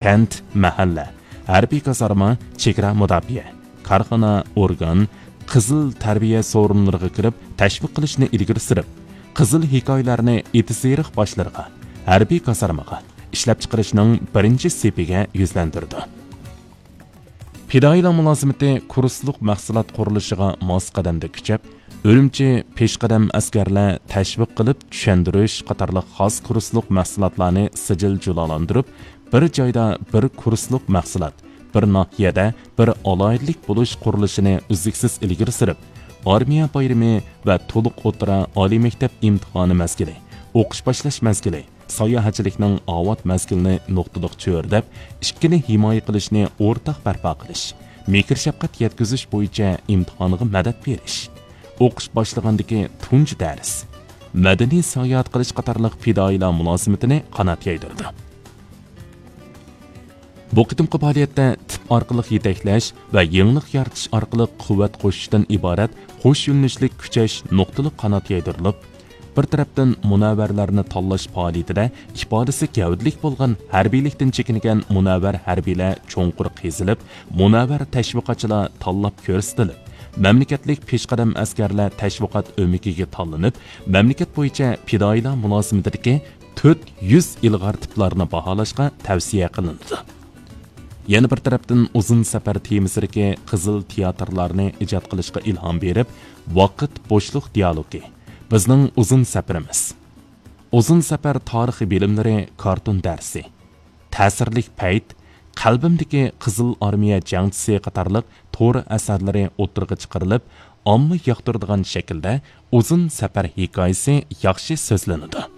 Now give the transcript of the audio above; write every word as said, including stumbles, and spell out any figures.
كەنت، مەھەللە، ھەربىي كازارما، چېگرا مۇداپىئە، كارخانا، ئورگان، قىزىل تەربىيە سورۇنلىرىغا كىرىپ تەشۋىق قىلىشنى ئىلگىرى سۈرۈپ، قىزىل ھېكايىلەرنى ئېتىز-ئېرىق باشلىرىغا، ھەربىي كازارمىغا، ئىشلەپچىقىرىشنىڭ بىرىنچى سېپىگە يۈزلەندۈرىدۇ. پىدائىيلار مۇلازىمىتى كۇرسلۇق مەھسۇلات قۇرۇلۇشىغا ماس قەدەمدە كۈچەپ، ئۈرۈمچى پېشقەدەم ئەسكەرلەر تەشۋىق قىلىپ چۈشەندۈرۈش قاتارلىق خاس كۇرسلۇق مەھسۇلاتلارنى سىجىل جۇلالاندۇرۇپ، بىر جايدا بىر كۇرسلۇق مەھسۇلات، بىر ناھىيەدە بىر ئالاھىدىلىك بولۇش قۇرۇلۇشىنى ئۈزلۈكسىز ئىلگىرى سۈرۈپ، ئارمىيە بايرىمى ۋە تولۇق ئوتتۇرا ئالىي مەكتەپ ئىمتىھانى مەزگىلى، ئوقۇش باشلاش مەزگىلى، ساياھەتچىلىكنىڭ ئاۋات مەزگىلىنى نۇقتىلىق چۆرىدەپ، ئىككىنى ھىمايە قىلىشنى ئورتاق بەرپا قىلىش، مېھىر-شەپقەت يەتكۈزۈش بويىچە ئىمتىھانغا مەدەت بېرىش، ئوقۇش باشلىغاندىكى تۇنجى دەرس، مەدەنىي ساياھەت قىلىش قاتارلىق پىدائىيلار مۇلازىمىتىنى قانات يايدۇرىدۇ. بۇ قېتىمقى پائالىيەتتە تىپ ئارقىلىق يېتەكلەش ۋە يېڭىلىق يارىتىش ئارقىلىق قۇۋۋەت قوشۇشتىن ئىبارەت قوش يۆنىلىشلىك كۈچەش نۇقتىلىق قانات يايدۇرۇلۇپ، بىر تەرەپتىن مۇنەۋۋەرلەرنى تاللاش پائالىيىتىدە ئىپادىسى گەۋدىلىك بولغان ھەربىيلىكتىن چېكىنگەن مۇنەۋۋەر ھەربىيلەر چوڭقۇر قېزىلىپ، مۇنەۋۋەر تەشۋىقاتچىلار تاللاپ كۆرسىتىلىپ، مەملىكەتلىك پېشقەدەم ئەسكەرلەر تەشۋىقات ئۆمىكىگە تاللىنىپ، مەملىكەت بويىچە پىدائىيلار مۇلازىمىتىدىكى تۆت يۈز ئىلغار تىپلارنى باھالاشقا تەۋسىيە قىلىنىدۇ. يەنە بىر تەرەپتىن، ئۇزۇن سەپەر تېمىسىدىكى قىزىل تىياتىرلارنى ئىجاد قىلىشقا ئىلھام بېرىپ، ۋاقىت بوشلۇق دىيالوگى، بىزنىڭ ئۇزۇن سەپىرىمىز، ئۇزۇن سەپەر تارىخىي بىلىملىرى كارتون دەرسى، تەسىرلىك پەيت، قەلبىمدىكى قىزىل ئارمىيە جەڭچىسى قاتارلىق تور ئەسەرلىرى ئوتتۇرىغا چىقىرىلىپ، ئامما ياقتۇرىدىغان شەكىلدە ئۇزۇن سەپەر ھېكايىسى ياخشى سۆزلىنىدۇ.